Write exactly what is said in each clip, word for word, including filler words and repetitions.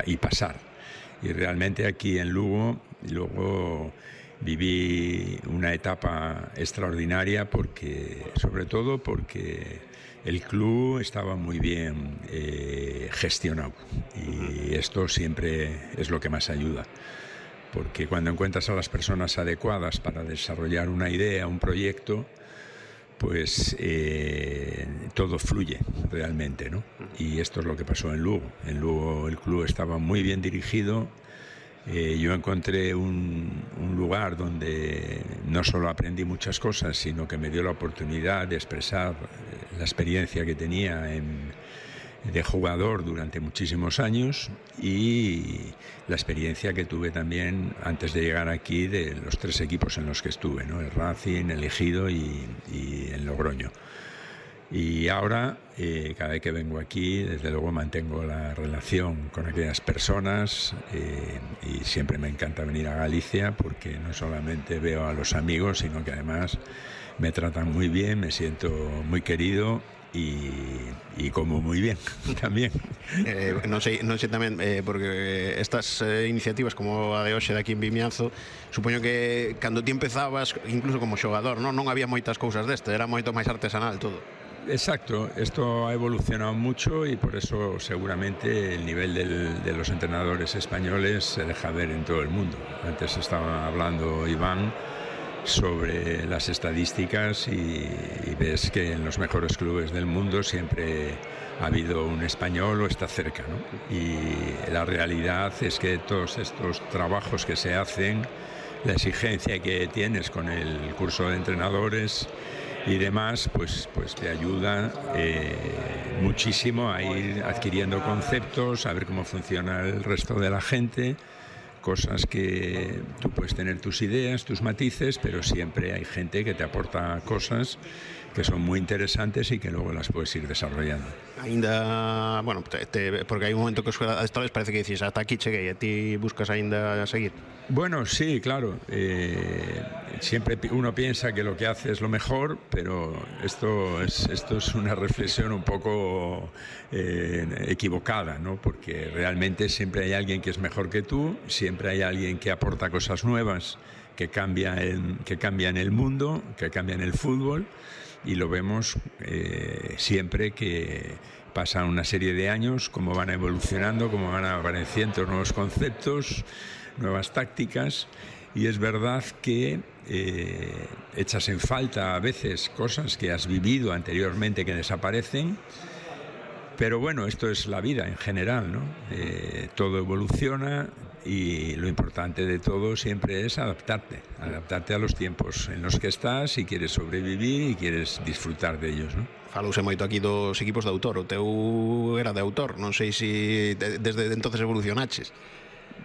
y pasar. Y realmente aquí en Lugo, luego viví una etapa extraordinaria porque, sobre todo porque el club estaba muy bien eh, gestionado y esto siempre es lo que más ayuda. Porque cuando encuentras a las personas adecuadas para desarrollar una idea, un proyecto, pues eh, todo fluye realmente, ¿no? Y esto es lo que pasó en Lugo. En Lugo el club estaba muy bien dirigido. Eh, yo encontré un, un lugar donde no solo aprendí muchas cosas, sino que me dio la oportunidad de expresar la experiencia que tenía en, de jugador durante muchísimos años y la experiencia que tuve también antes de llegar aquí de los tres equipos en los que estuve, ¿no? El Racing, el Ejido y, y el Logroño. Y ahora, eh, cada vez que vengo aquí, desde luego mantengo la relación con aquellas personas eh, y siempre me encanta venir a Galicia porque no solamente veo a los amigos, sino que además me tratan muy bien, me siento muy querido y, y como muy bien también. Eh, non sei, non sei tamén, eh, porque estas eh, iniciativas como a de hoxe de aquí en Vimianzo, supoño que cando ti empezabas, incluso como xogador, non, non había moitas cousas deste, era moito máis artesanal todo. Exacto, esto ha evolucionado mucho y por eso seguramente el nivel del, de los entrenadores españoles se deja ver en todo el mundo. Antes estaba hablando Iván sobre las estadísticas y, y ves que en los mejores clubes del mundo siempre ha habido un español o está cerca, ¿no? Y la realidad es que todos estos trabajos que se hacen, la exigencia que tienes con el curso de entrenadores y demás, pues, pues te ayuda eh, muchísimo a ir adquiriendo conceptos, a ver cómo funciona el resto de la gente, cosas que tú puedes tener tus ideas, tus matices, pero siempre hay gente que te aporta cosas que son muy interesantes y que luego las puedes ir desarrollando. Ainda, bueno, te, te, porque hai un momento que os adestradores parece que dices hasta aquí cheguei, e ti buscas ainda seguir. Bueno, sí, claro. Eh, siempre uno piensa que lo que hace es lo mejor, pero esto es, esto es una reflexión un poco eh, equivocada, ¿no? Porque realmente siempre hay alguien que es mejor que tú, siempre hay alguien que aporta cosas nuevas, que cambia el, que cambian el mundo, que cambian el fútbol. Y lo vemos eh, siempre que pasan una serie de años, cómo van evolucionando, cómo van apareciendo nuevos conceptos, nuevas tácticas, y es verdad que eh, echas en falta a veces cosas que has vivido anteriormente que desaparecen, pero bueno, esto es la vida en general, ¿no? Eh, todo evoluciona y lo importante de todo siempre es adaptarte, adaptarte a los tiempos en los que estás y quieres sobrevivir y quieres disfrutar de ellos, ¿no? Falouse moito aquí dos equipos de autor, o teu era de autor, non sei se desde entonces evolucionaches.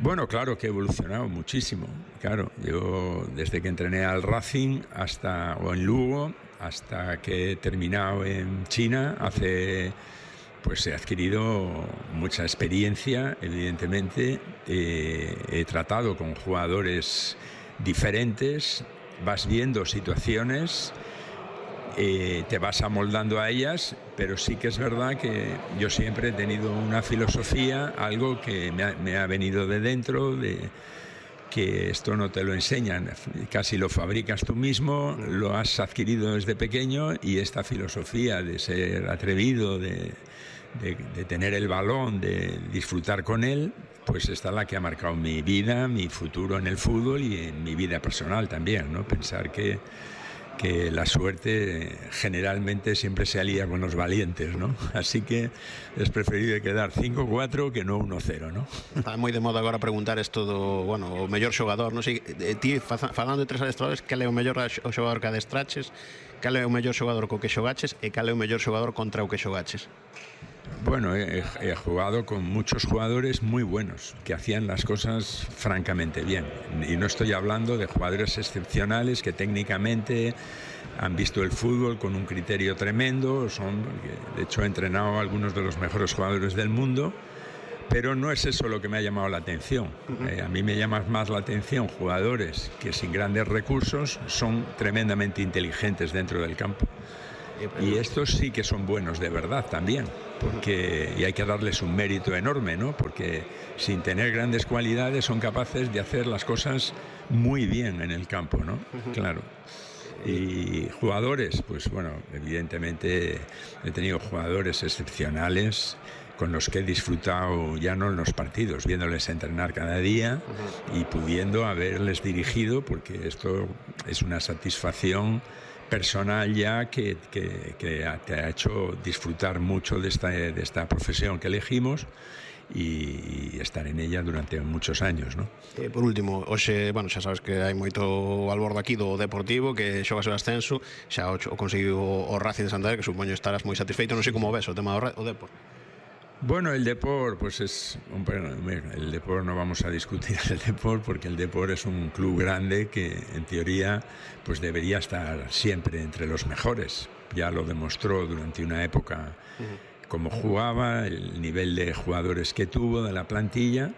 Bueno, claro que he evolucionado muchísimo, claro, yo desde que entrené al Racing hasta, o en Lugo, hasta que he terminado en China hace... Pues he adquirido mucha experiencia, evidentemente, eh, he tratado con jugadores diferentes, vas viendo situaciones, eh, te vas amoldando a ellas, pero sí que es verdad que yo siempre he tenido una filosofía, algo que me ha, me ha venido de dentro, de que esto no te lo enseñan, casi lo fabricas tú mismo, lo has adquirido desde pequeño y esta filosofía de ser atrevido, de... De, de tener el balón, de disfrutar con él, pues esta es la que ha marcado mi vida, mi futuro en el fútbol y en mi vida personal también, ¿no? Pensar que, que la suerte generalmente siempre se alía con los valientes, ¿no? Así que es preferible quedar cinco cuatro que no uno cero, ¿no? Está moi de moda agora preguntar isto do, bueno, o mellor xogador, non sei, ti falando de tres adestradores, cal é o mellor o xogador que adestraches, cal é o mellor xogador co que xogaches e cal é o mellor xogador contra o que xogaches? Bueno, he, he jugado con muchos jugadores muy buenos que hacían las cosas francamente bien, y no estoy hablando de jugadores excepcionales que técnicamente han visto el fútbol con un criterio tremendo, son, de hecho he entrenado a algunos de los mejores jugadores del mundo, pero no es eso lo que me ha llamado la atención. Uh-huh. eh, a mí me llama más la atención jugadores que sin grandes recursos son tremendamente inteligentes dentro del campo. Y estos sí que son buenos de verdad también, porque, y hay que darles un mérito enorme, ¿no? Porque sin tener grandes cualidades son capaces de hacer las cosas muy bien en el campo, ¿no? Claro. Y jugadores, pues bueno, evidentemente he tenido jugadores excepcionales con los que he disfrutado ya no en los partidos, viéndoles entrenar cada día y pudiendo haberles dirigido, porque esto es una satisfacción personal ya que, que, que te ha hecho disfrutar mucho de esta, de esta profesión que elegimos y estar en ella durante muchos años, ¿no? Eh, por último, hoxe, bueno, xa sabes que hai moito albordo aquí do Deportivo que xoga o ascenso, xa o, o conseguiu o Racing de Santander, que supoño estarás moi satisfeito, non sei como ves o tema do, do Depor. Bueno, el Depor, pues es el Depor, no vamos a discutir el Depor porque el Depor es un club grande que en teoría pues debería estar siempre entre los mejores. Ya lo demostró durante una época cómo jugaba, el nivel de jugadores que tuvo de la plantilla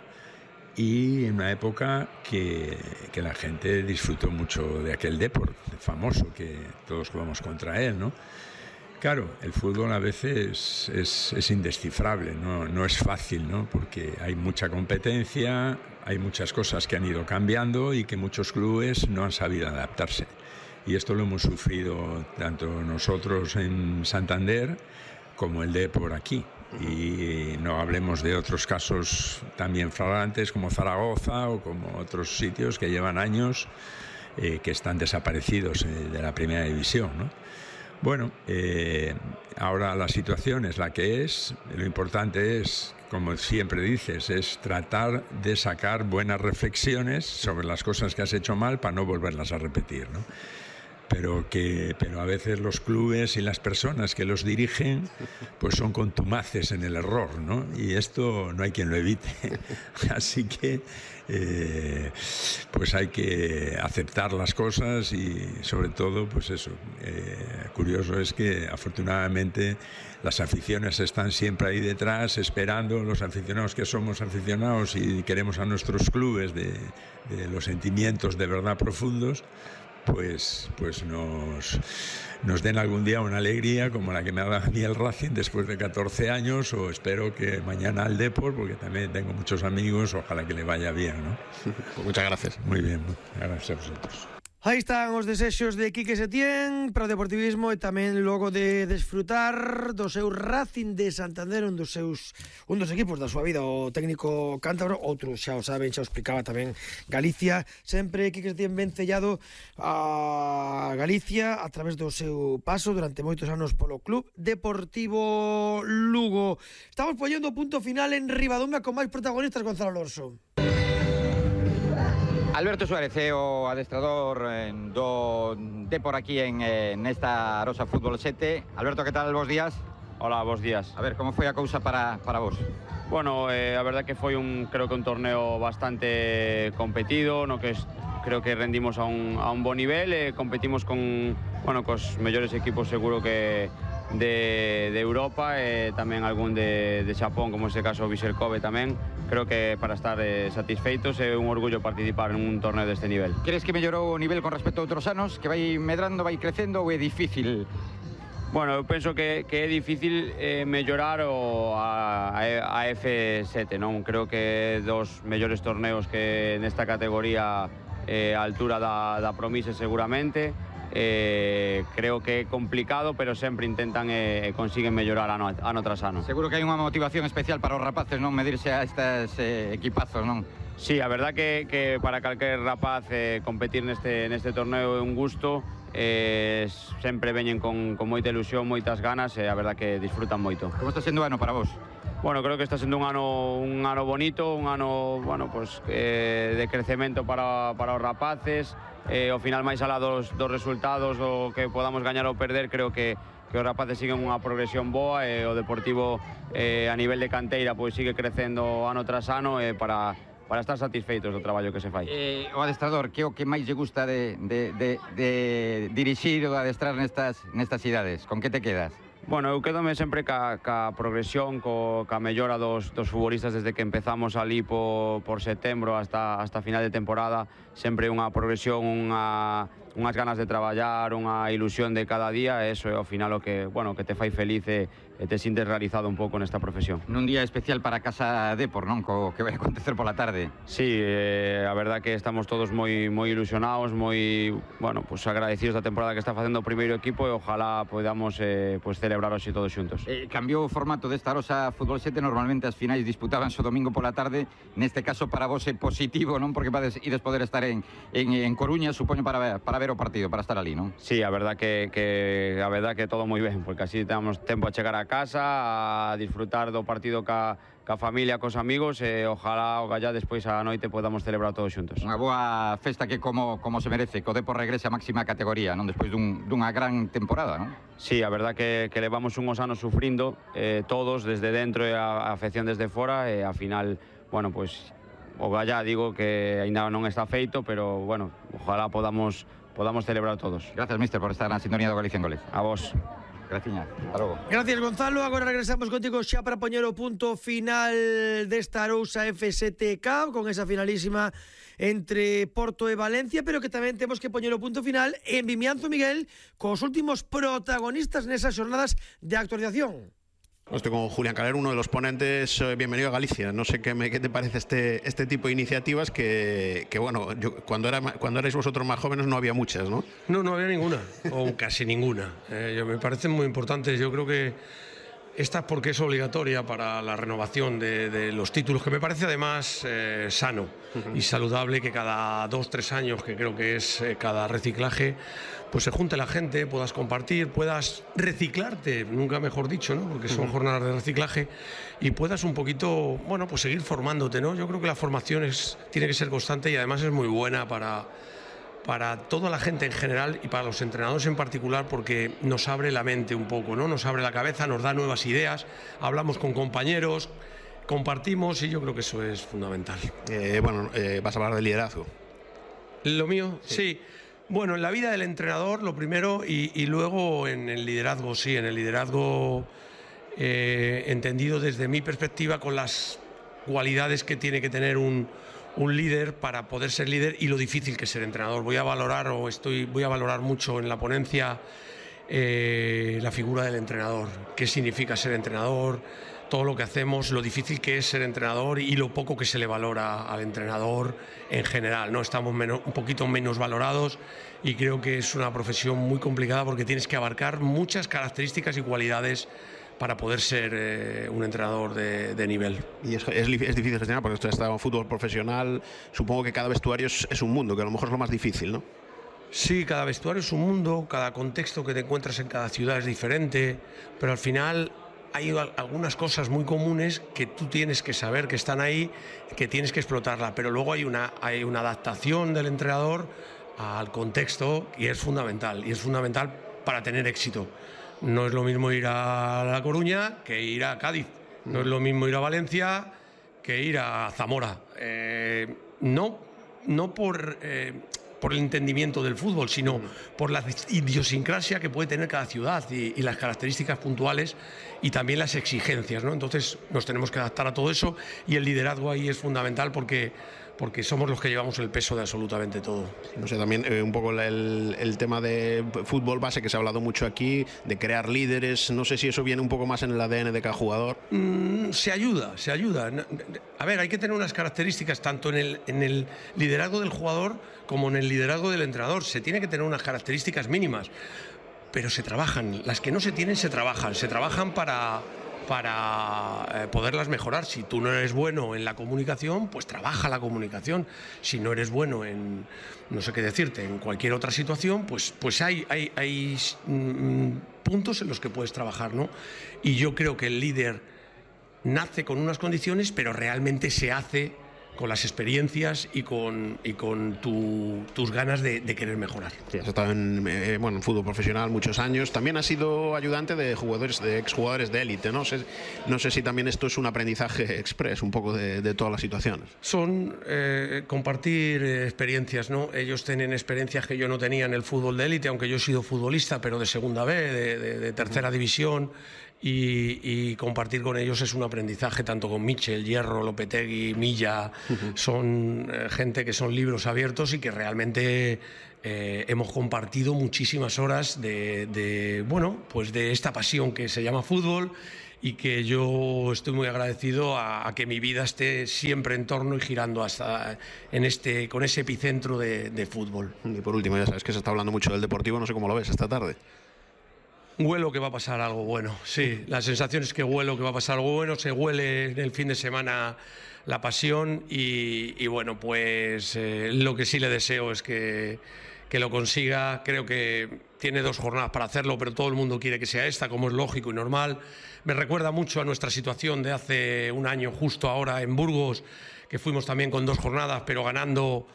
y en una época que, que la gente disfrutó mucho de aquel Depor famoso que todos jugamos contra él, ¿no? Claro, el fútbol a veces es, es indescifrable, ¿no? No es fácil, ¿no? Porque hay mucha competencia, hay muchas cosas que han ido cambiando y que muchos clubes no han sabido adaptarse. Y esto lo hemos sufrido tanto nosotros en Santander como el Depor aquí. Y no hablemos de otros casos también flagrantes como Zaragoza o como otros sitios que llevan años eh, que están desaparecidos eh, de la primera división, ¿no? Bueno, eh, ahora la situación es la que es. Lo importante es, como siempre dices, es tratar de sacar buenas reflexiones sobre las cosas que has hecho mal para no volverlas a repetir, ¿no? Pero, que, pero a veces los clubes y las personas que los dirigen pues son contumaces en el error, ¿no? Y esto no hay quien lo evite. Así que eh, pues hay que aceptar las cosas y sobre todo pues eso. Eh, curioso es que afortunadamente las aficiones están siempre ahí detrás esperando, los aficionados que somos aficionados y queremos a nuestros clubes de, de los sentimientos de verdad profundos, pues, pues nos, nos den algún día una alegría como la que me ha dado a mí el Racing después de catorce años, o espero que mañana al Depor, porque también tengo muchos amigos, ojalá que le vaya bien, ¿no? Pues muchas gracias. Muy bien, gracias a vosotros. Aí están os desexos de Quique Setién para o deportivismo e tamén logo de desfrutar do seu Racing de Santander, un dos seus un dos equipos da súa vida, o técnico cántabro, outro xa o saben, xa o explicaba tamén Galicia, sempre Quique Setién ben sellado a Galicia a través do seu paso durante moitos anos polo Club Deportivo Lugo. Estamos poñendo o punto final en Ribadumia con máis protagonistas, Gonzalo Alonso. Alberto Suárez é o adestrador do Depor aquí en, en esta Arosa Fútbol sete. Alberto, que tal? Bos días. Hola, bos días. A ver, como foi a cousa para, para vos? Bueno, eh, a verdad que foi un, creo que un torneo bastante competido, no que es, creo que rendimos a un, a un bon nivel, eh, competimos con, bueno, cos mellores equipos seguro que de, de Europa, e eh, tamén algún de, de Xapón, como este caso Vissel Kobe tamén. Creo que para estar eh, satisfeitos é un orgullo participar en un torneo deste nivel. Crees que mellorou o nivel con respecto a outros anos? Que vai medrando, vai crecendo ou é difícil? Bueno, eu penso que, que é difícil eh, mellorar o a, a F sete, non? Creo que dos mellores torneos que nesta categoría eh, a altura da, da Promise seguramente. Eh, creo que é complicado, pero sempre intentan e eh, consiguen mellorar ano, ano tras ano. Seguro que hai unha motivación especial para os rapaces, non, medirse a estes eh, equipazos, non? Sí, a verdad que, que para calquer rapaz eh, competir neste, neste torneo é un gusto, eh, sempre veñen con, con moita ilusión, moitas ganas, e a verdad que disfrutan moito. Como está sendo o ano para vos? Bueno, creo que está sendo un ano un ano bonito, un ano, bueno, pues eh, de crecemento para, para os rapaces. Eh, ao final, máis alá dos, dos resultados do que podamos gañar ou perder, creo que, que os rapaces siguen unha progresión boa, e o Deportivo eh, a nivel de canteira pois sigue crecendo ano tras ano, eh, para, para estar satisfeitos do traballo que se fai. Eh, o adestrador, que o que máis lle gusta de, de, de, de dirixir ou de adestrar nestas, nestas cidades? Con que te quedas? Bueno, eu quedome sempre ca, ca progresión, co, ca mellora dos, dos futbolistas desde que empezamos ali por, por setembro hasta, hasta final de temporada. Sempre unha progresión, unha, unhas ganas de traballar, unha ilusión de cada día, e eso é ao final o que, bueno, que te fai feliz e, e te sintes realizado un pouco nesta profesión. Nun día especial para Casa Depor, non? Co que vai acontecer pola tarde. Sí, eh, a verdad que estamos todos moi moi ilusionados, moi, bueno, pues agradecidos da temporada que está facendo o primeiro equipo e ojalá podamos eh, pues celebrar hoxe todos xuntos. Eh, cambiou o formato desta Arosa Fútbol sete, normalmente as finais disputábanse o domingo pola tarde, neste caso para vos é positivo, non? Porque vades ides poder estar en, en, en Coruña, supoño, para ver, para ver o partido, para estar ali, non? Sí, a verdad que, que a verdad que todo moi ben, porque así temos tempo a chegar a casa, a disfrutar do partido ca, ca familia, cos amigos e ojalá o gallá despois a noite podamos celebrar todos xuntos. Unha boa festa que como, como se merece, que o Depor regrese a máxima categoría, non? Despois dun, dunha gran temporada, non? Sí, a verdad que, que levamos unhos anos sufrindo eh, todos desde dentro e a, a afección desde fora e a final, bueno, pues o gallá digo que ainda non está feito, pero bueno, ojalá podamos podamos celebrar todos. Gracias, mister, por estar na sintonía do Galicia en Goles. A vos. Graciña, hasta logo. Gracias, Gonzalo. Agora regresamos contigo xa para poñer o punto final desta Arousa F sete Cup con esa finalísima entre Porto e Valencia, pero que tamén temos que poñer o punto final en Vimianzo, Miguel, cos últimos protagonistas nesas xornadas de actualización. Estoy con Julián Calero, uno de los ponentes. Bienvenido a Galicia. No sé qué, me, qué te parece este, este tipo de iniciativas que, que bueno, yo, cuando, era, cuando erais vosotros más jóvenes no había muchas, ¿no? No, no había ninguna, o casi ninguna. Eh, yo, me parecen muy importantes. Yo creo que esta porque es obligatoria para la renovación de, de los títulos, que me parece además eh, sano uh-huh. y saludable que cada dos, tres años, que creo que es eh, cada reciclaje, pues se junte la gente, puedas compartir, puedas reciclarte, nunca mejor dicho, ¿no? Porque son uh-huh. jornadas de reciclaje, y puedas un poquito, bueno, pues seguir formándote, ¿no? Yo creo que la formación es, tiene que ser constante y además es muy buena para... para toda la gente en general y para los entrenadores en particular, porque nos abre la mente un poco, ¿no? Nos abre la cabeza, nos da nuevas ideas, hablamos con compañeros, compartimos y yo creo que eso es fundamental. Eh, bueno, eh, vas a hablar de liderazgo. ¿Lo mío? Sí. sí. Bueno, en la vida del entrenador lo primero y, y luego en el liderazgo, sí, en el liderazgo eh, entendido desde mi perspectiva con las cualidades que tiene que tener un un líder para poder ser líder y lo difícil que es ser entrenador. Voy a valorar o estoy voy a valorar mucho en la ponencia eh, la figura del entrenador, qué significa ser entrenador, todo lo que hacemos, lo difícil que es ser entrenador y lo poco que se le valora al entrenador en general, ¿no? Estamos menos, un poquito menos valorados y creo que es una profesión muy complicada porque tienes que abarcar muchas características y cualidades para poder ser eh, un entrenador de, de nivel. Y es, es, es difícil gestionar porque usted está en fútbol profesional, supongo que cada vestuario es, es un mundo, que a lo mejor es lo más difícil, ¿no? Sí, cada vestuario es un mundo, cada contexto que te encuentras en cada ciudad es diferente, pero al final hay algunas cosas muy comunes que tú tienes que saber que están ahí, que tienes que explotarla, pero luego hay una, hay una adaptación del entrenador al contexto y es fundamental, y es fundamental para tener éxito. No es lo mismo ir a La Coruña que ir a Cádiz. No es lo mismo ir a Valencia que ir a Zamora. Eh, no, no por, eh, por el entendimiento del fútbol, sino por la idiosincrasia que puede tener cada ciudad y, y las características puntuales y también las exigencias, ¿no? Entonces nos tenemos que adaptar a todo eso y el liderazgo ahí es fundamental porque... porque somos los que llevamos el peso de absolutamente todo. No sé, también eh, un poco el, el tema de fútbol base que se ha hablado mucho aquí, de crear líderes, no sé si eso viene un poco más en el A D N de cada jugador. Mm, se ayuda, se ayuda. A ver, hay que tener unas características tanto en el, en el liderazgo del jugador como en el liderazgo del entrenador. Se tiene que tener unas características mínimas, pero se trabajan. Las que no se tienen se trabajan, se trabajan para... para eh, poderlas mejorar. Si tú no eres bueno en la comunicación, pues trabaja la comunicación. Si no eres bueno en, no sé qué decirte, en cualquier otra situación, pues, pues hay, hay, hay mm, puntos en los que puedes trabajar, ¿no? Y yo creo que el líder nace con unas condiciones, pero realmente se hace con las experiencias y con, y con tu, tus ganas de, de querer mejorar. Sí, has estado en, eh, bueno, en fútbol profesional muchos años. También has sido ayudante de jugadores, de exjugadores de élite, ¿no? Sé, no sé si también esto es un aprendizaje express, un poco de, de todas las situaciones. Son eh, compartir eh, experiencias, ¿no? Ellos tienen experiencias que yo no tenía en el fútbol de élite, aunque yo he sido futbolista, pero de segunda B, de, de, de tercera división. y, y compartir con ellos es un aprendizaje, tanto con Michel, Hierro, Lopetegui, Milla, uh-huh. son eh, gente que son libros abiertos y que realmente eh, hemos compartido muchísimas horas de, de, bueno, pues de esta pasión que se llama fútbol, y que yo estoy muy agradecido a, a que mi vida esté siempre en torno y girando hasta en este, con ese epicentro de, de fútbol. Y por último, ya sabes que se está hablando mucho del Deportivo, no sé cómo lo ves esta tarde. Huelo que va a pasar algo bueno, sí, la sensación es que huelo que va a pasar algo bueno, se huele en el fin de semana la pasión y, y bueno, pues eh, lo que sí le deseo es que, que lo consiga. Creo que tiene dos jornadas para hacerlo, pero todo el mundo quiere que sea esta, como es lógico y normal. Me recuerda mucho a nuestra situación de hace un año, justo ahora en Burgos, que fuimos también con dos jornadas, pero ganando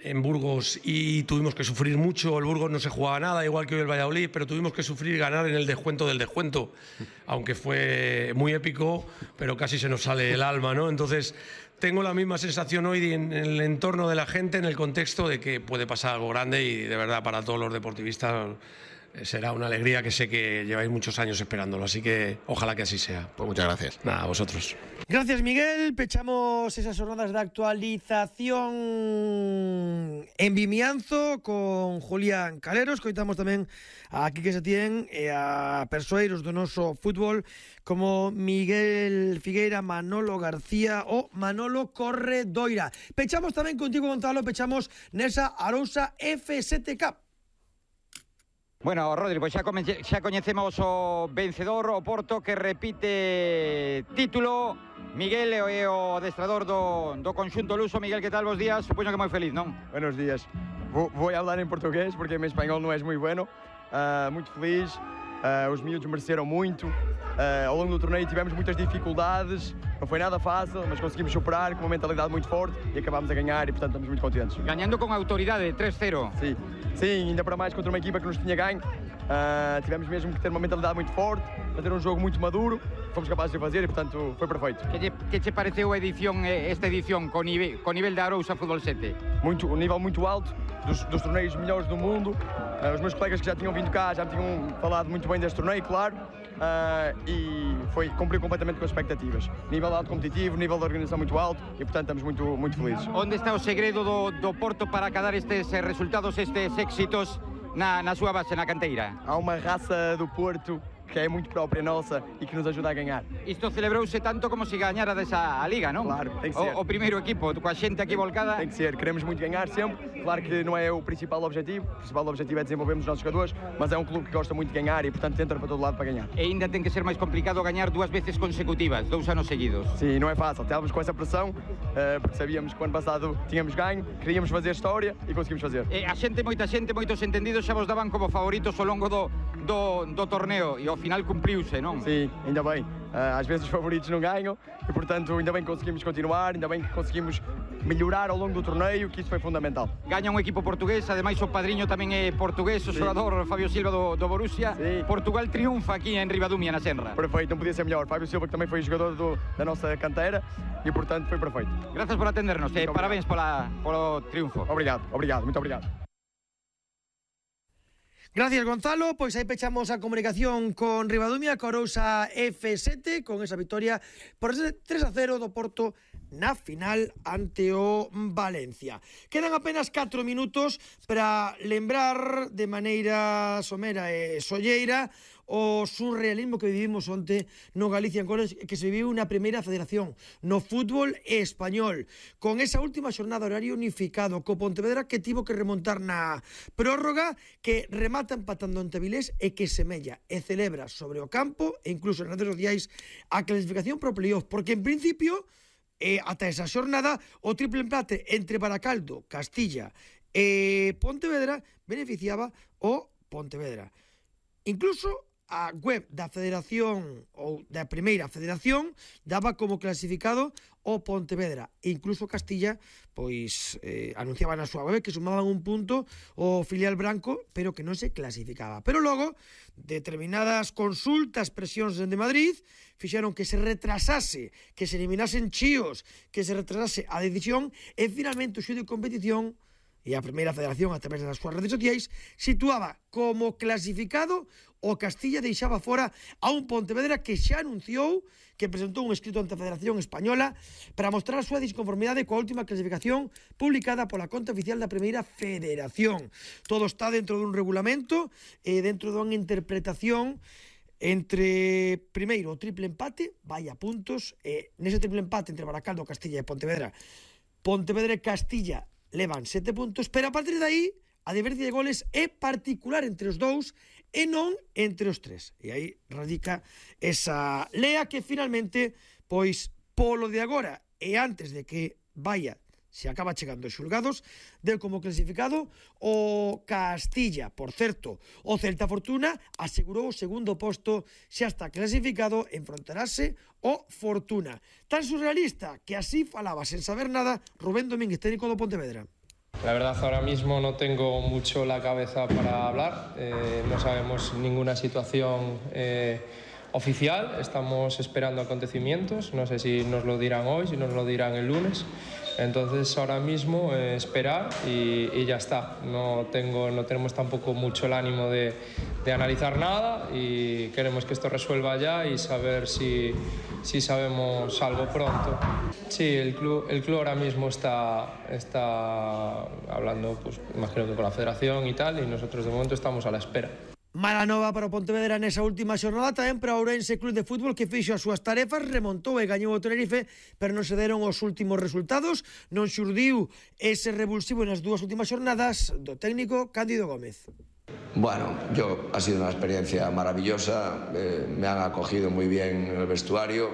en Burgos y tuvimos que sufrir mucho. El Burgos no se jugaba nada, igual que hoy el Valladolid, pero tuvimos que sufrir y ganar en el descuento del descuento, aunque fue muy épico, pero casi se nos sale el alma, ¿no? Entonces tengo la misma sensación hoy en el entorno de la gente, en el contexto de que puede pasar algo grande, y de verdad para todos los deportivistas será una alegría que sé que lleváis muchos años esperándolo, así que ojalá que así sea. Pues muchas gracias. Nada, a vosotros. Gracias, Miguel. Pechamos esas jornadas de actualización en Vimianzo con Julián Caleros. Coitamos tamén a Quique Setién e a persoeiros do noso fútbol como Miguel Figueira, Manolo García ou Manolo Corredoira. Pechamos tamén contigo, Gonzalo, pechamos nesa Arousa F sete Cup. Bueno, Rodri, pois xa, xa coñecemos o vencedor, o Porto, que repite título. Miguel é o adestrador do, do conxunto luso. Miguel, que tal? Bos días, supoño que moi feliz, non? Buenos días. Vou, vou hablar en portugués porque mi español non é moi bueno. Uh, muito feliz, uh, os miúdos mereceram muito. Uh, ao longo do torneio tivemos muitas dificuldades, não foi nada fácil, mas conseguimos superar com uma mentalidade muito forte e acabámos a ganhar e, portanto, estamos muito contentes. Ganhando com autoridade, três cero. Sim, sim, ainda para mais contra uma equipa que nos tinha ganho. Uh, tivemos mesmo que ter uma mentalidade muito forte, fazer um jogo muito maduro, fomos capazes de fazer e, portanto, foi perfeito. Que te, que te pareceu a edición, esta edición con nivel, con nivel da Arousa Fútbol sete? Muito, um nível muito alto, dos, dos torneios melhores do mundo. Uh, os meus colegas que já tinham vindo cá já me tinham falado muito bem deste torneio, claro. Uh, e foi, cumpriu completamente com as expectativas. Nível alto competitivo, nível de organização muito alto e, portanto, estamos muito, muito felizes. Onde está o segredo do, do Porto para cadar estes resultados, estes éxitos na, na súa base, na canteira? Há uma raça do Porto que é muito própria nossa e que nos ajuda a ganhar. Isto celebrouse tanto como se gañara desa a Liga, non? Claro, tem que ser. O, o primeiro equipo, coa xente aquí volcada. Tem que ser, queremos muito ganhar sempre. Claro que não é o principal objetivo, o principal objetivo é desenvolvermos os nossos jogadores, mas é um clube que gosta muito de ganhar e, portanto, tenta para todo lado para ganhar. E ainda tem que ser máis complicado gañar dúas veces consecutivas, dous anos seguidos. Sim, não é fácil. Estávamos com essa pressão, uh, porque sabíamos que o ano passado tínhamos ganho, queríamos fazer história e conseguimos fazer. E a xente, moita xente, moitos entendidos xa vos daban como favoritos ao longo do, do, do torneo e ao final cumpriuse, non? Sim, ainda bem. Uh, às vezes os favoritos não ganham e, portanto, ainda bem que conseguimos continuar, ainda bem que conseguimos melhorar ao longo do torneio, que isso foi fundamental. Gaña un equipo portugués, ademais o padriño tamén é portugués, o xogador Fabio Silva do, do Borussia. Sí. Portugal triunfa aquí en Ribadumia, na Senra. Perfeito, não podia ser melhor. Fabio Silva, que também foi jogador do, da nossa canteira e, portanto, foi perfeito. Gracias por atendernos e parabéns pola, polo triunfo. Obrigado, obrigado, muito obrigado. Gracias, Gonzalo. Pois aí pechamos a comunicación con Ribadumia, con Arousa F sete, con esa victoria por tres a cero do Porto na final ante o Valencia. Quedan apenas catro minutos para lembrar de maneira somera e solleira o surrealismo que vivimos onte no Galicia College, que se viviu na primeira federación no fútbol español, con esa última xornada horario unificado co Pontevedra, que tivo que remontar na prórroga, que remata empatando ante Vilés e que semella e celebra sobre o campo e incluso nas redes sociais a clasificación pro playoff, porque en principio e ata esa xornada o triple empate entre Baracaldo, Castilla e Pontevedra beneficiaba o Pontevedra. Incluso a web da Federación ou da Primeira Federación daba como clasificado o Pontevedra, e incluso Castilla pois eh, anunciaba na súa web que sumaban un punto o filial branco, pero que non se clasificaba. Pero logo, determinadas consultas, presións de Madrid fixeron que se retrasase, que se eliminasen chíos, que se retrasase a decisión, e finalmente o xuízo de competición e a Primeira Federación, a través das súas redes sociais, situaba como clasificado o Castilla deixaba fora a un Pontevedra que xa anunciou que presentou un escrito ante a Federación Española para mostrar a súa disconformidade coa última clasificación publicada pola conta oficial da Primeira Federación. Todo está dentro dun regulamento e dentro dunha interpretación entre, primeiro, o triple empate, vai a puntos, e nese triple empate entre Baracaldo, Castilla e Pontevedra, Pontevedra e Castilla levan sete puntos, pero a partir de aí a diferencia de goles é particular entre os dous e non entre os tres. E aí radica esa lea que finalmente, pois, polo de agora e antes de que vaya, se acaba chegando aos xulgados, deu como clasificado o Castilla. Por certo, o Celta Fortuna asegurou o segundo posto, xa está clasificado, enfrontarase o Fortuna. Tan surrealista que así falaba, sen saber nada, Rubén Domínguez, técnico do Pontevedra. La verdad, ahora mismo no tengo mucho la cabeza para hablar, eh, no sabemos ninguna situación eh, oficial, estamos esperando acontecimientos, no sé si nos lo dirán hoy, si nos lo dirán el lunes, entonces ahora mismo eh, esperar y, y ya está, no, tengo, no tenemos tampoco mucho el ánimo de, de analizar nada y queremos que esto resuelva ya y saber si, si sabemos algo pronto. Sí, el club, el club ahora mismo está, está hablando, pues, imagino que con la federación y tal, y nosotros de momento estamos a la espera. Mala nova para o Pontevedra nesa última xornada, tamén para o Ourense Club de Fútbol que fixo as súas tarefas, remontou e gañou o Tenerife, pero non se deron os últimos resultados, non xurdiu ese revulsivo nas dúas últimas xornadas do técnico Cándido Gómez. Bueno, yo ha sido una experiencia maravillosa, eh, me han acogido muy bien en el vestuario,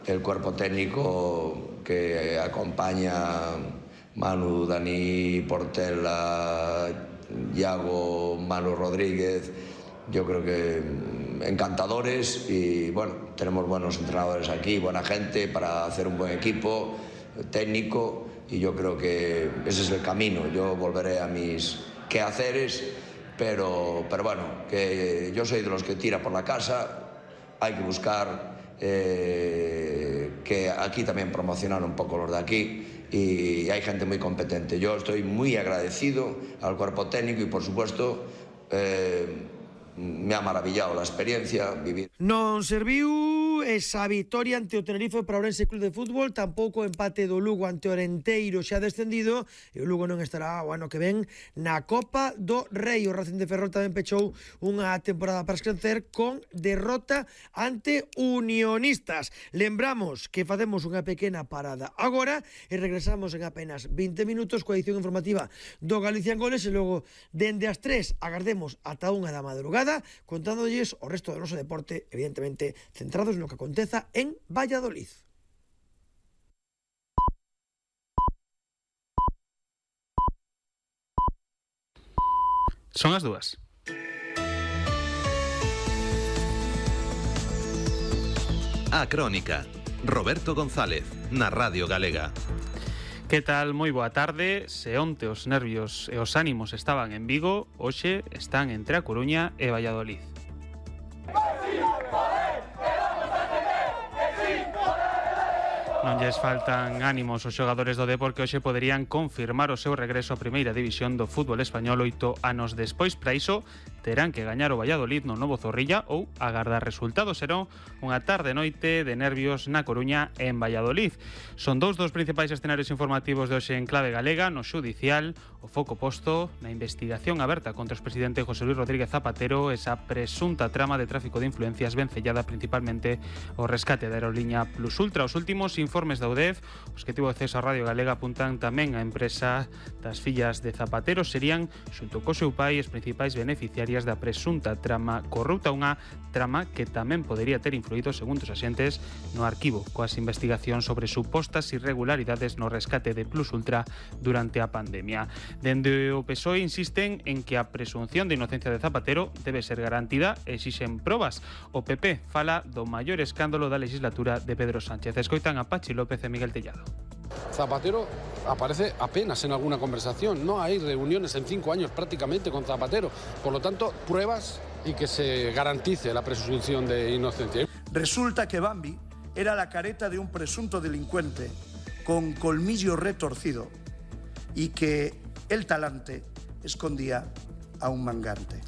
el cuerpo técnico que acompaña Manu, Dani, Portela, Iago, Manu Rodríguez, yo creo que encantadores y bueno, tenemos buenos entrenadores aquí, buena gente para hacer un buen equipo técnico y yo creo que ese es el camino. Yo volveré a mis quehaceres, pero, pero bueno, que yo soy de los que tira por la casa, hay que buscar eh, que aquí también promocionar un poco los de aquí. Y hay gente muy competente. Yo estoy muy agradecido al cuerpo técnico y, por supuesto, eh, me ha maravillado la experiencia vivir. Non serviu esa vitoria ante o Tenerife para o Ourense Club de Fútbol, tampouco o empate do Lugo ante o Orenteiro xa descendido, e o Lugo non estará o ano que ven na Copa do Rei. O Racing de Ferrol tamén pechou unha temporada para escrecer con derrota ante Unionistas. Lembramos que facemos unha pequena parada agora e regresamos en apenas vinte minutos coa edición informativa do Galicia en Goles e logo dende as tres agardemos ata unha da madrugada contándolles o resto do noso deporte, evidentemente centrados no que aconteza en Valladolid. Son as dúas. A Crónica, Roberto González, na Radio Galega. Que tal? Moi boa tarde. Se onte os nervios e os ánimos estaban en Vigo, hoxe están entre A Coruña e Valladolid. Non lles faltan ánimos os xogadores do Depor que hoxe poderían confirmar o seu regreso á primeira división do fútbol español oito anos despois. Para iso terán que gañar o Valladolid no novo Zorrilla ou agardar resultados. Será unha tarde noite de nervios na Coruña e en Valladolid. Son dous dos principais escenarios informativos de hoxe en clave galega. No xudicial, o foco posto na investigación aberta contra o expresidente José Luis Rodríguez Zapatero, esa presunta trama de tráfico de influencias vencellada principalmente o rescate da aerolínea Plus Ultra. Os últimos informes da U D E F, os que tivo acceso a Radio Galega, apuntan tamén a empresa das fillas de Zapatero serían, xunto co seu pai, as principais beneficiarias da presunta trama corrupta, unha trama que tamén podería ter influído, segundo os axentes, no arquivo coas investigacións sobre supostas irregularidades no rescate de Plus Ultra durante a pandemia. Dende o P S O E insisten en que a presunción de inocencia de Zapatero debe ser garantida e exixen probas. O P P fala do maior escándalo da legislatura de Pedro Sánchez. Escoitan a Pachi López e Miguel Tellado. Zapatero aparece apenas en alguna conversación, no hay reuniones en cinco años prácticamente con Zapatero, por lo tanto, pruebas y que se garantice la presunción de inocencia. Resulta que Bambi era la careta de un presunto delincuente con colmillo retorcido y que el talante escondía a un mangante.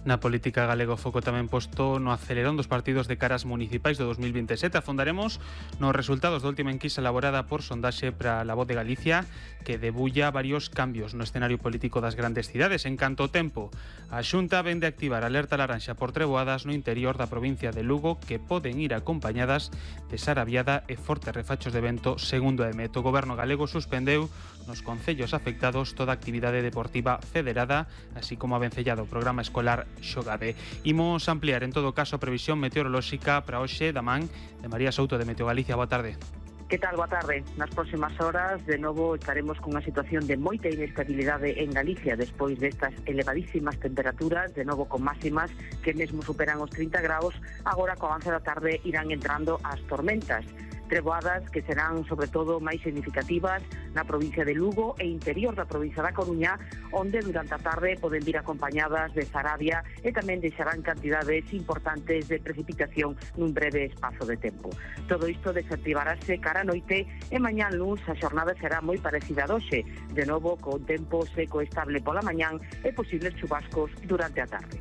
Na política galega o foco tamén posto no acelerón dos partidos de caras municipais do dos mil veintisiete. Afondaremos nos resultados da última enquisa elaborada por Sondaxe para La Voz de Galicia, que debulla varios cambios no escenario político das grandes cidades. En canto ao tempo, a Xunta vende a activar alerta laranxa por treboadas no interior da provincia de Lugo, que poden ir acompañadas de sarabiada e fortes refachos de vento, segundo a E M E T. O Goberno galego suspendeu nos concellos afectados toda a actividade deportiva federada, así como a vencellado o programa escolar Xogade. Imos ampliar en todo caso a previsión meteorolóxica para hoxe da man de María Souto de Meteo Galicia. Boa tarde. Que tal? Boa tarde. Nas próximas horas, de novo, estaremos con unha situación de moita inestabilidade en Galicia despois destas elevadísimas temperaturas, de novo con máximas que mesmo superan os trinta graus. Agora, co avance da tarde, irán entrando as tormentas. Treboadas que serán, sobre todo, máis significativas na provincia de Lugo e interior da provincia da Coruña, onde durante a tarde poden vir acompañadas de sarabia e tamén deixarán cantidades importantes de precipitación nun breve espazo de tempo. Todo isto desactivarase cara a noite e mañán luns a xornada será moi parecida a hoxe, de novo con tempo seco e estable pola mañán e posibles chubascos durante a tarde.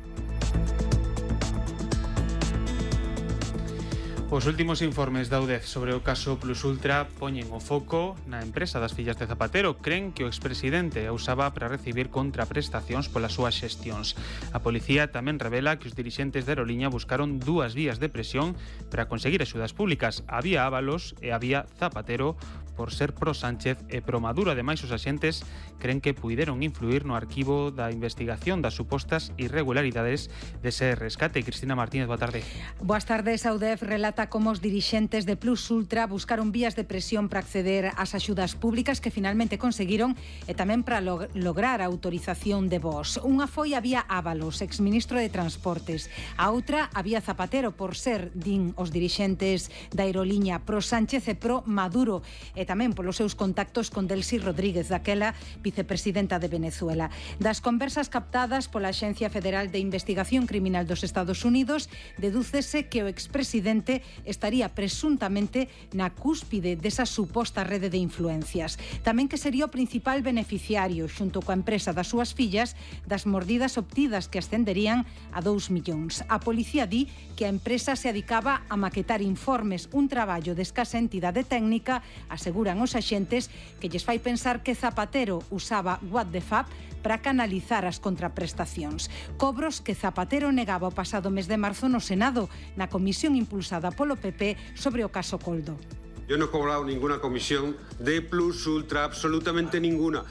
Os últimos informes da U D E F sobre o caso Plus Ultra poñen o foco na empresa das fillas de Zapatero. Cren que o expresidente a usaba para recibir contraprestacións polas súas xestións. A policía tamén revela que os dirixentes de Aeroliña buscaron dúas vías de presión para conseguir axudas públicas. Había Ábalos e había Zapatero por ser pro Sánchez e pro Maduro. Ademais, os axentes cren que puideron influir no arquivo da investigación das supostas irregularidades dese rescate. Cristina Martínez, boa tarde. Boas tardes. A U D E F relata como os dirixentes de Plus Ultra buscaron vías de presión para acceder ás axudas públicas que finalmente conseguiron e tamén para log lograr a autorización de voos. Unha foi había Ábalos, exministro de Transportes. A outra había Zapatero por ser, din os dirixentes da Aeroliña, pro Sánchez e pro Maduro, e tamén polos seus contactos con Delcy Rodríguez, daquela vicepresidenta de Venezuela. Das conversas captadas pola Axencia Federal de Investigación Criminal dos Estados Unidos, dedúcese que o expresidente estaría presuntamente na cúspide desa suposta rede de influencias. Tamén que sería o principal beneficiario, xunto coa empresa das súas fillas, das mordidas obtidas que ascenderían a dous millóns. A policía di que a empresa se adicaba a maquetar informes, un traballo de escasa entidade técnica, aseguran os axentes, que lles fai pensar que Zapatero usaba What the F A P para canalizar as contraprestacións. Cobros que Zapatero negaba o pasado mes de marzo no Senado, na comisión impulsada polo P P sobre o caso Coldo. Yo no he cobrado ninguna comisión de Plus Ultra, absolutamente ninguna.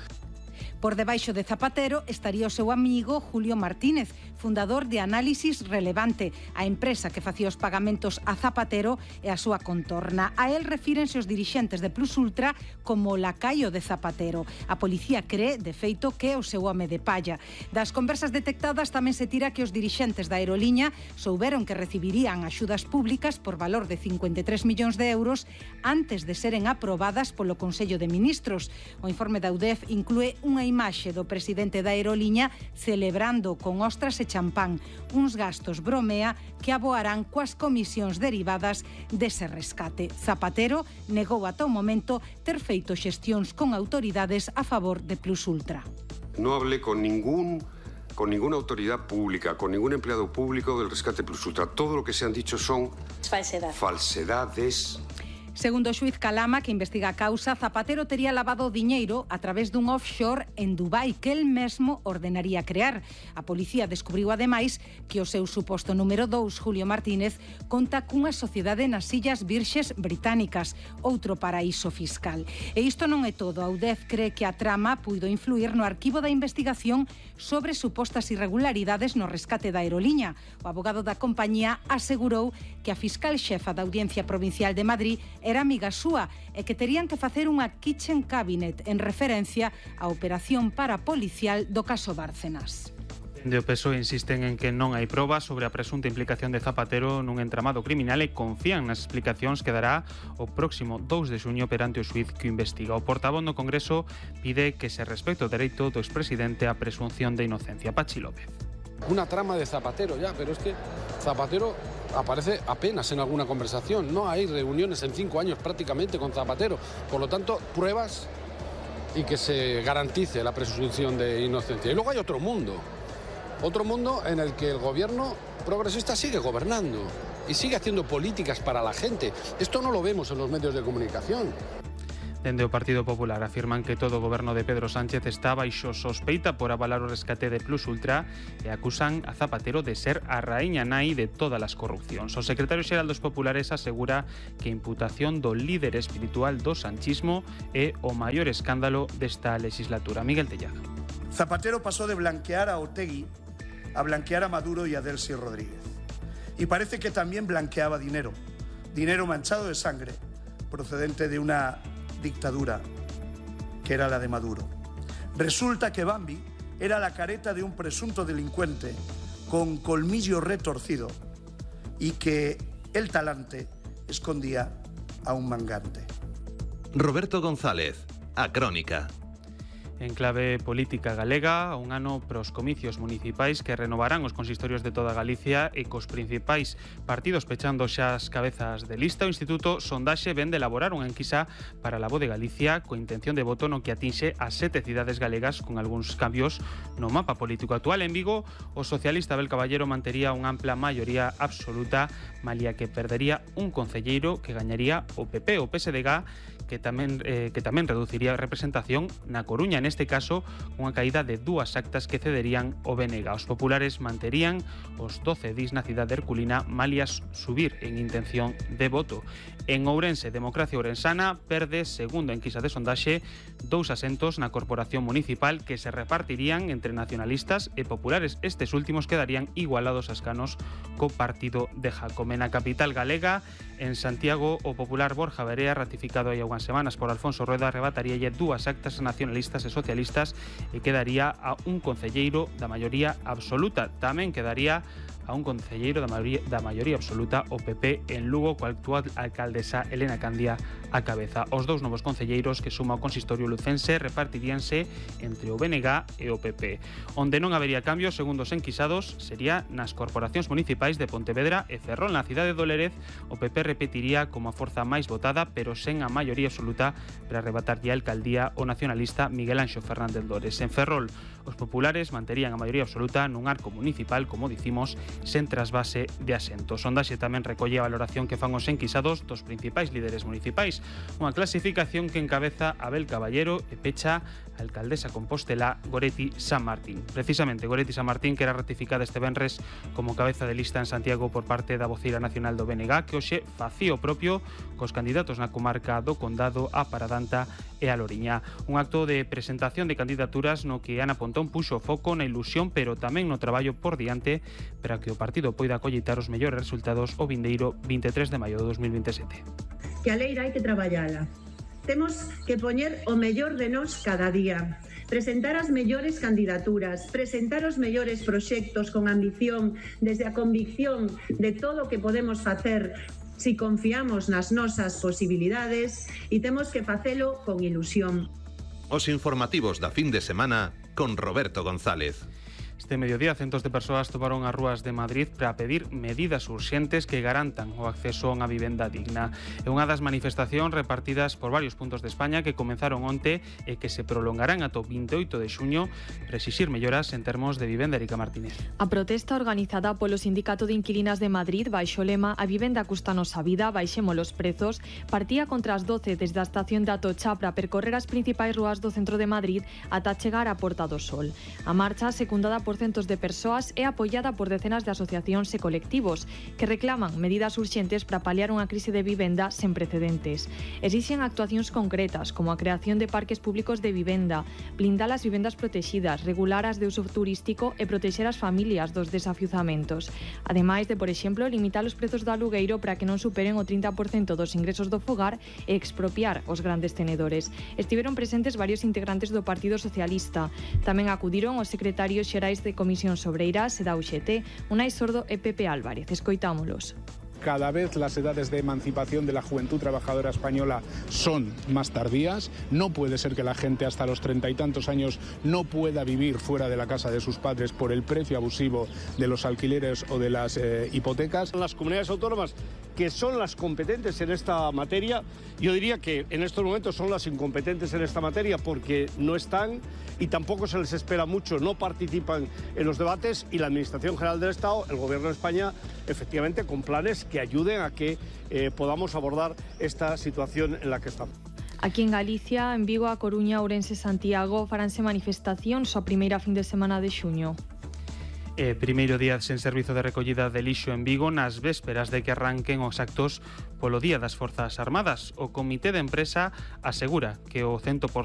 Por debaixo de Zapatero estaría o seu amigo Julio Martínez, fundador de Análisis Relevante, a empresa que facía os pagamentos a Zapatero e a súa contorna. A él refírense os dirixentes de Plus Ultra como lacaio de Zapatero. A policía cree, de feito, que é o seu home de palla. Das conversas detectadas tamén se tira que os dirixentes da Aeroliña souberon que recibirían axudas públicas por valor de cincuenta e tres millóns de euros antes de seren aprobadas polo Consello de Ministros. O informe da U D E F inclúe unha imaxe do presidente da Aeroliña celebrando con ostras e champán uns gastos bromea que aboarán coas comisións derivadas dese rescate. Zapatero negou ata o momento ter feito xestións con autoridades a favor de Plus Ultra. No hablé con ningún con ninguna autoridad pública, con ningún empleado público del rescate Plus Ultra. Todo lo que se han dicho son Falsedad. falsedades. Segundo o xuiz Calama, que investiga a causa, Zapatero tería lavado diñeiro a través dun offshore en Dubai que el mesmo ordenaría crear. A policía descubriu ademais que o seu suposto número dous, Julio Martínez, conta cunha sociedade nas Illas Virxes Británicas, outro paraíso fiscal. E isto non é todo. A U D E F cree que a trama puido influir no arquivo da investigación sobre supostas irregularidades no rescate da Aeroliña. O abogado da compañía asegurou que a fiscal xefa da Audiencia Provincial de Madrid era amiga súa e que terían que facer unha kitchen cabinet en referencia á operación parapolicial do caso Bárcenas. De o P S O E insisten en que non hai probas sobre a presunta implicación de Zapatero nun entramado criminal e confían nas explicacións que dará o próximo dous de xuño perante o xuiz que o investiga. O portavoz no Congreso pide que se respecte o dereito do expresidente á presunción de inocencia. Pachi López. Una trama de Zapatero ya, pero es que Zapatero aparece apenas en alguna conversación. No hay reuniones en cinco años prácticamente con Zapatero. Por lo tanto, pruebas y que se garantice la presunción de inocencia. Y luego hay otro mundo. Otro mundo en el que el gobierno progresista sigue gobernando y sigue haciendo políticas para la gente. Esto no lo vemos en los medios de comunicación. Dende o Partido Popular afirman que todo o goberno de Pedro Sánchez está baixo sospeita por avalar o rescate de Plus Ultra e acusan a Zapatero de ser a raíña nai de todas as corrupcións. O secretario xeral dos Populares asegura que a imputación do líder espiritual do sanchismo é o maior escándalo desta legislatura. Miguel Tellado. Zapatero pasó de blanquear a Otegi a blanquear a Maduro y a Delcy Rodríguez. Y parece que también blanqueaba dinero, dinero manchado de sangre, procedente de una dictadura, que era la de Maduro. Resulta que Bambi era la careta de un presunto delincuente con colmillo retorcido y que el talante escondía a un mangante. Roberto González, a Crónica. En clave política galega, un ano pros comicios municipais que renovarán os consistorios de toda Galicia e cos principais partidos pechando xa as cabezas de lista. O Instituto Sondaxe ven de elaborar unha enquisa para la Voz de Galicia coa intención de voto no que atinxe as sete cidades galegas con algúns cambios no mapa político actual. En Vigo, o socialista Abel Caballero mantería unha ampla maioría absoluta, malia que perdería un concelleiro que gañaría o P P. O P S D G que tamén eh, que tamén reduciría a representación na Coruña, neste caso unha caída de dúas actas que cederían o B N G. Os populares manterían os doce dis na cidade herculina, malias subir en intención de voto. En Ourense, Democracia Ourensana perde, segundo a enquisa de sondaxe, dous asentos na corporación municipal que se repartirían entre nacionalistas e populares. Estes últimos quedarían igualados a escanos co partido de Jacome. Na capital galega, en Santiago, o popular Borja Verea, ratificado hai algunhas semanas por Alfonso Rueda, arrebataríalle dúas actas nacionalistas e socialistas e quedaría a un concelleiro da maioría absoluta. Tamén quedaría a un concelleiro da maioría, da maioría absoluta o P P en Lugo, coa actual alcaldesa Elena Candia a cabeza. Os dous novos concelleiros que suma o consistorio lucense repartiríanse entre o B N G e o P P. Onde non habería cambios, segundo os enquisados, sería nas corporacións municipais de Pontevedra e Ferrol. Na cidade do Lérez, o P P repetiría como a forza máis votada, pero sen a maioría absoluta para arrebatarlle a alcaldía o nacionalista Miguel Anxo Fernández Dores. En Ferrol, os populares manterían a maioría absoluta nun arco municipal, como dicimos, sen trasvase de asentos. Sondaxe tamén recolle a valoración que fan os enquisados dos principais líderes municipais, unha clasificación que encabeza Abel Caballero e pecha a alcaldesa compostela Goretti San Martín. Precisamente Goretti San Martín, que era ratificada este venres como cabeza de lista en Santiago por parte da voceira nacional do B N G, que hoxe facía o propio cos candidatos na comarca do Condado, a Paradanta e a Loriña. Un acto de presentación de candidaturas no que Ana Pontón puxo foco na ilusión, pero tamén no traballo por diante para que o partido poida colleitar os mellores resultados o vindeiro vinte e tres de maio de dos mil veintesete. Que a leira hai que traballala. Temos que poñer o mellor de nós cada día, presentar as mellores candidaturas, presentar os mellores proxectos con ambición, desde a convicción de todo o que podemos facer si confiamos nas nosas posibilidades, e temos que facelo con ilusión. Os informativos da fin de semana con Roberto González. Este mediodía, centos de persoas tomaron as rúas de Madrid para pedir medidas urxentes que garantan o acceso a unha vivenda digna. É unha das manifestacións repartidas por varios puntos de España que comenzaron onte e que se prolongarán ata o vinte e oito de xuño para exixir melloras en termos de vivenda. Erika Martínez. A protesta organizada polo Sindicato de Inquilinas de Madrid baixo o lema "A vivenda custanos a vida, baixemos os prezos", partía contra as doce desde a estación de Atocha para percorrer as principais rúas do centro de Madrid ata chegar á Porta do Sol. A marcha, secundada por centos de persoas, é apoiada por decenas de asociacións e colectivos que reclaman medidas urxentes para paliar unha crise de vivenda sen precedentes. Exixen actuacións concretas como a creación de parques públicos de vivenda, blindar as vivendas protexidas, regular as de uso turístico e protexer as familias dos desafiuzamentos. Ademais de, por exemplo, limitar os prezos do alugueiro para que non superen o trinta por cento dos ingresos do fogar e expropiar os grandes tenedores. Estiveron presentes varios integrantes do Partido Socialista. Tamén acudiron os secretarios xerais de Comisións Obreiras e da U X T, Unai Sordo e Pepe Álvarez. Escoitámolos. Cada vez las edades de emancipación de la juventud trabajadora española son más tardías. No puede ser que la gente hasta los treinta y tantos años no pueda vivir fuera de la casa de sus padres por el precio abusivo de los alquileres o de las eh, hipotecas. Las comunidades autónomas que son las competentes en esta materia. Yo diría que en estos momentos son las incompetentes en esta materia porque no están y tampoco se les espera mucho, no participan en los debates, y la Administración General del Estado, el Gobierno de España, efectivamente con planes que ayuden a que eh, podamos abordar esta situación en la que estamos. Aquí en Galicia, en Vigo, A Coruña, Ourense e Santiago faranse manifestacións a primeira fin de semana de xuño. E primeiro día sen servizo de recollida de lixo en Vigo nas vésperas de que arranquen os actos polo Día das Forzas Armadas. O Comité de Empresa asegura que o cento por